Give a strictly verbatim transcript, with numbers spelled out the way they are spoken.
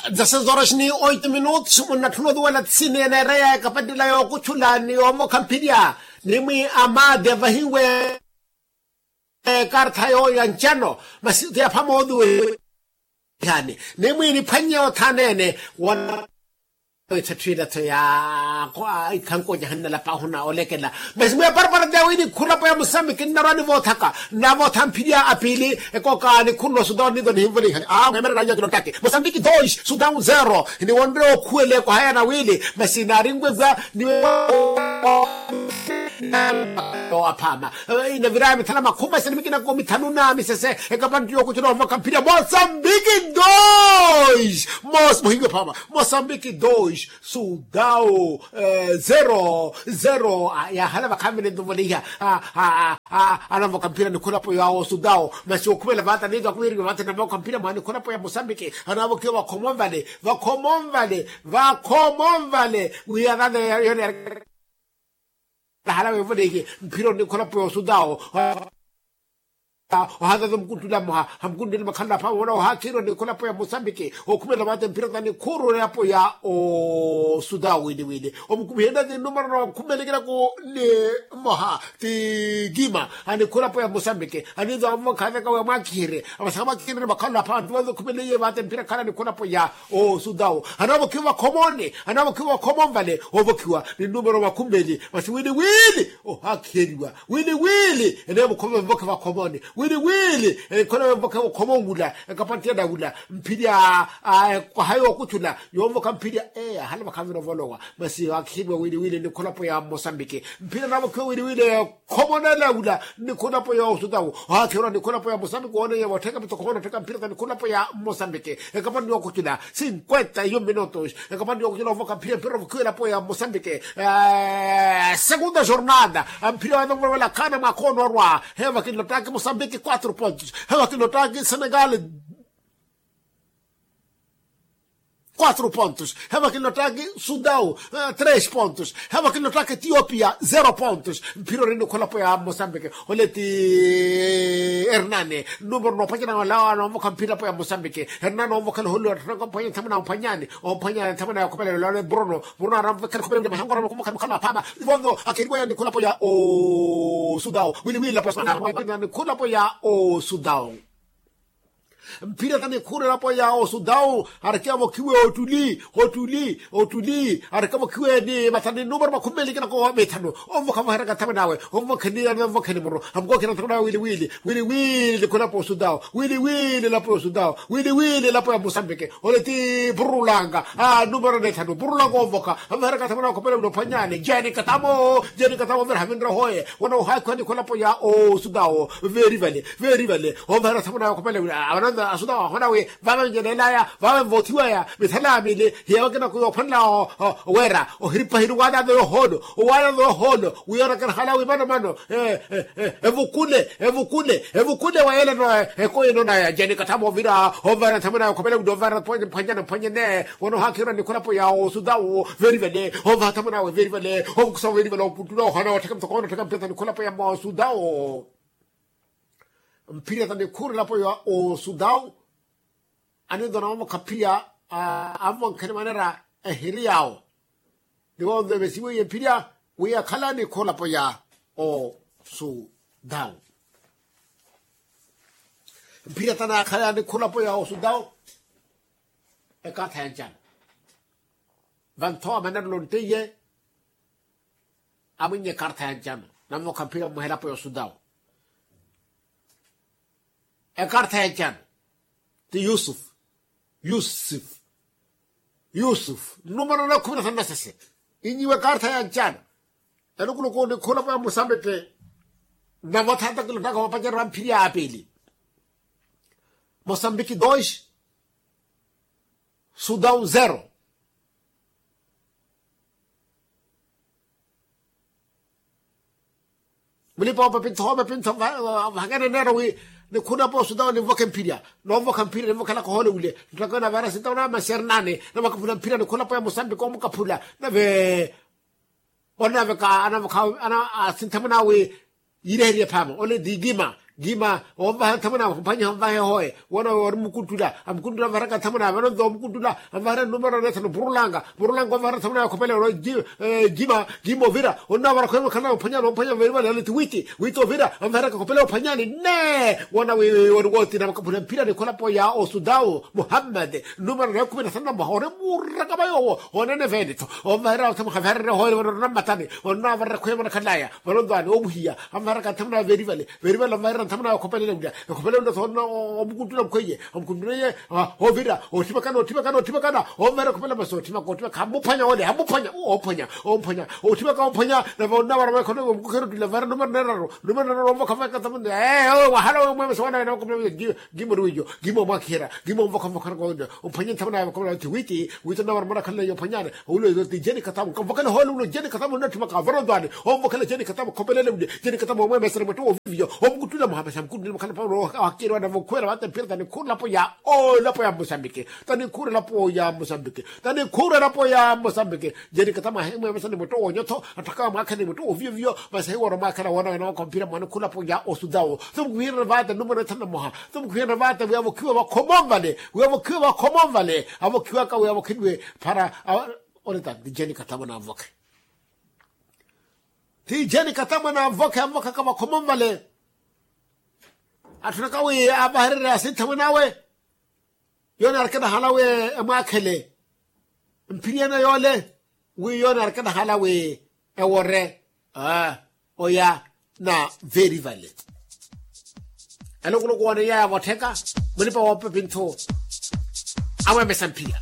Dezasseis horas ni oito minutos munnatthuna otuwela tsini eneereya ekapatela yookutthula ni yoomokha mphirya. Nimwi amaati avahiwe ekartha yooyo ya ncano masi ti aphama otuwela. Ihani nimwi niphwannye othaneene wona wethatthu ila tho ya ikhankonya hannalapa ahuna olekela. Masi mwiya parapara teya wini khulapo ya musambiki nnarwa nivoothaka nnavootha mphirya apiili. Ekooka nikhulula sudao niizo nihinvole ihani a mwemerela anyo kilotaki musambiki dois sudao zero. Niwonre okhuwele kwahayana wili masi naarinwebwa niwe aphama inaviraya mithala makhuma sini mikinako mithanu na misese. Ekapanttu yookucula ovaka mphirya mosambiki dois mos muhiwe phama mosambiki dois sudao zero zero. Yaahala vakhamene ntuvoleiha anavaka mphirya nikhulapo yawo sudao masi okhumela vata niizo akhuviriwe vata navaka mphirya mwa nikhulapo ya mosambiki anavokiwa vakhomonvale vakhomonvale vakhomonvale wiya vata yone. Ahala weevoleihe mphira onikholapo yoosutawo ohazaza omukuntula mmoha hamukuntula makhalala phaama wala ohaakhirwa nikholapo ya mosambiki okhumela vate mphira tanikhuurulapo ya osutawo wili wili omukumihenna ti numero na okhumelekelaku ni mmoha ti kima anikholapo ya mosambiki aniiza wamuvakhaazaka wemwaakhihirye amasaka mwaakhihirye makhalala phaama ti vanza okhumeleiye vate mphira khala nikholapo ya osutawo anavokhiwa vakhomoni anavokhiwa vakhomoni vale ovokhiwa ni numero vakhumeli masi wili wili ohakhiyeliwa wili wili enevo khome vokhe vakhomoni wili wili ekhole vokhe vakhomoni wula ekapantiyana wula mphirya kwaha yookuthula yoovokha mphirya eya hale vakhavirovolowa masi ohakhiyeliwa wili wili ni kholapo ya mosambiki mphirya navokhiwa wili wili khomonela wula nikhulapo ya osutawo ohakhirwa nikhulapo ya mosambiki wooneiye vottheka mitokho vona ottheka mphira ta nikhulapo ya mosambiki ekapani yookucula cinquenta iyo minutos ekapani yookucula ovaka mphira mphira ovokhiwa elapo ya mosambiki segunda jornada mphira wanovovela khana mwakhoono orwa hevakinlottaki mosambiki quatro pontos hevakinlottaki senegal quatro pontos hevakinlottaki sudao tres pontos hevakinlottaki etiopia zero pontos mphira ori nikholapo ya mosambiki oleti hernani numero noopacana wala noomvokha mphira po ya mosambiki hernani oomvokhela oholuwa mphwanyani mphwanyani mphwanyani nthamana ya khopelelo lale bruno bruno aramvokhela khopelelo mahango aramvokhela mukhala mukhala maphama ivonzo akheriwa ya nikholapo ya osudao wili wili lapo ya sudao nikholapo ya osudao mphira tani khuurelapo ya osudao areke avokhiwe otuli otuli otuli areke avokhiwe ni mathani numero makhumi meli kinakowa mithanu omvokhavoheraka nthamwe nawe omvokheni anawe omvokheni muro amukookhera nthamwe nawe wili wili wili wili nikhulapo osudao wili wili lapo ya osudao wili wili lapo ya mosambiki ole ti purulanga numero nethanu purulanga omvoka avoheraka nthamwe nawe khopele wili ophwanyani jeni katamo jeni katamo vira havinre hoye wana ohakhiwa nikhulapo ya osudao veri vale veri vale ovaherya thamuna yokhopela wira avananza asuta wahona wi vave njenelaya vave nvothiwaya mithala mili hiya wakina kuyophwanela wera ohiripa hiri owananza yohono owananza yohono wiyonakena hala wi mano mano evukule evukule evukule wayeleno ekoyeno naya njeni kathama ovira ovaherya thamuna yokhopela wira ovaherya phwanyana phwanyene wano ohakhirwa nikholapo ya osuta wo veri vale ovaha thamuna we veri vale ovukusa veri vale oputtula ohona ottheka muthokono ottheka mpesa nikholapo ya mosuta wo mphirya ta nikhurelapo ya osudao anintona omukha mphirya amuvankhani manera ehiri yawo ni wonzo evesiweiye mphirya wi akhala nikhurelapo ya osudao mphirya ta naakhala nikhurelapo ya osudao ekartha ya ncana vantho amanarula onteiye amwinnya ekartha ya ncano namokha mphira mmuhelapo ya osutawo ekartha ya ncano ti yusuf yusuf yusuf numero na khumi na thanu na sese inyiwa ekartha ya ncano elukuluku nikhulapo ya mosambiki navo thata kilottaka vapacererya mphiri ya apili mosambiki dos sudao zero mulipa opepintho opepintho vahakene neero wi nikhuna po sudao ninvokhe mphirya noonvokha mphirya ninvokhelaka ohoole wile nttaka naveera sintawo namasernani navakaphula mphirya nikhuna po ya mosambiki omukaphula nave onaveka anaveka asinthamuna wi yiireheriye phaama ole ti kima Gima onvaha nthamuna, omphwanyiha onvahe hoye. Woona ori mukuttula, amukuttula anvaharaka nthamuna, vanonto omukuttula anvahara numero neethano purulanga. Purulanga onvahara nthamuna ya khopele ori. Gima gima ovira onnavara khwemwe khana omphwanyani omphwanya verivale yale ti witi. Witi ovira anvaharaka khopele omphwanyani. Nne woona wi ori wothina vakaphuna mphirani kholapo ya osudau muhammad. Numero neekhumi na thanu na mmoha ori muraka va yoowo. Onene vene-tho onvahara nthamuna khaviharerye hoye vano ori nammatani. Onnavarara khwemwe nakhalaya. Vano ntwaani omuhiya anvaharaka nthamuna ya verivale. Verivale anvahara nthamuna ya okhopelele wulya. Ekhopelele wulya thoona omukuntuna mukhweiye. Omukuntuna iye ovira otthimaka na otthimaka na otthimaka na onvahara ekhopelele masi otthimaka otthimaka hamuphwanya ole hamuphwanya. Omphwanya omphwanya otthimaka omphwanya. Nave onnavara mwekhona omukukherutile anvahara numero neraru. Numero neraru onvokha mwekhana nthamuna ee wahala wemwemesa wana wena wakhopelele. Gima ori wiiyo. Gima omwakhiherya. Gima onvokha onvokha. Omphwanye nthamuna ya vakhopelele witi witi. Witi onnavara mwana khalaleya ophwanyani. Owulo ti jeni katamu kamvokele hoole ulo jeni katamu onnatthimaka vorontwani. Omvokele jeni katamu khopelele wuli jeni katamu omwemesere mwetto woviviyo. Omukuttula muhamesa mukuttula mukhala paulo. Wakiri wana vokhuwela vata mphira tanikhurela po ya olapo ya musambiki. Tanikhurela po ya musambiki. Tanikhurela po ya musambiki. Jeni katamu ahemwemesa ni mwetto wonyotho. Atthaka wamwakhela ni mwetto woviviyo. Masi hiworo mwakhela wona wena wakho mphira mwanikhurela po ya osudawo. Somukuhirela vata numero ethanu na mmoha. Somukuhirela vata wi avokhiwe vakhomo nvale. Wi avokhiwe vakhomo nvale. Avokhiwaka wi avokheliwe para. Onetta ti jeni katamu na avokhe. Ti jeni katamu na avokhe avokhe ka vakhomo nvale. Atthunaka wi avahererye asinthamuna awe. Yoona arikina hala wi emwakhele mphiriyana yoole. Wi yoona arikina hala wi ewore oya na verivale. Elukuluku woona iya yavottheka mulipa woopepi nthu. Amwemesa mphira.